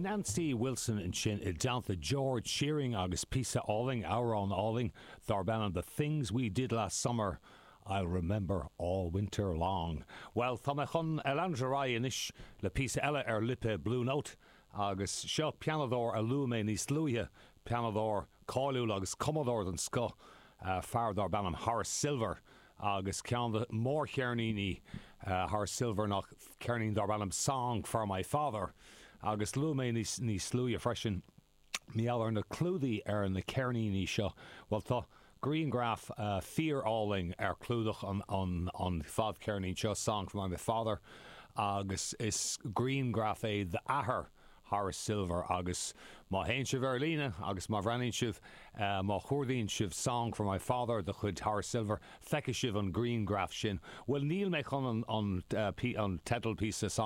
Nancy Wilson ansin i dteannta George Shearing agus píosa álainn, amhrán álainn, darb ainm The Things We Did Last Summer I'll Remember All Winter Long. Bhuel, tá mé chun leanúint ar aghaidh anois le píosa eile ar lipéad Blue Note agus seo pianadóir a luaigh mé níos luaithe, pianadóir cáiliúil agus cumadóir den scoth, fear darb ainm Horace Silver. Agus ceann de mhórcheirníní Horace Silver ná ceirnín darb ainm Song for My Father. Agus luaigh mé níos níos luaithe freisin mar gheall ar na clúdaigh ar na ceirníní seo. Bhuel tá grianghraf fíor-álainn ar chlúdach an an an fadcheirnín seo, Song for My Father, agus is grianghraf é d'athair Horace Silver agus má théann sibh ar líne agus má bhreathnaíonn sibh, má chuardaíonn sibh Song for My Father de chuid Horace Silver, feicfidh sibh an grianghraf sin. Bhuel, níl mé chun an an teideal píosa Song.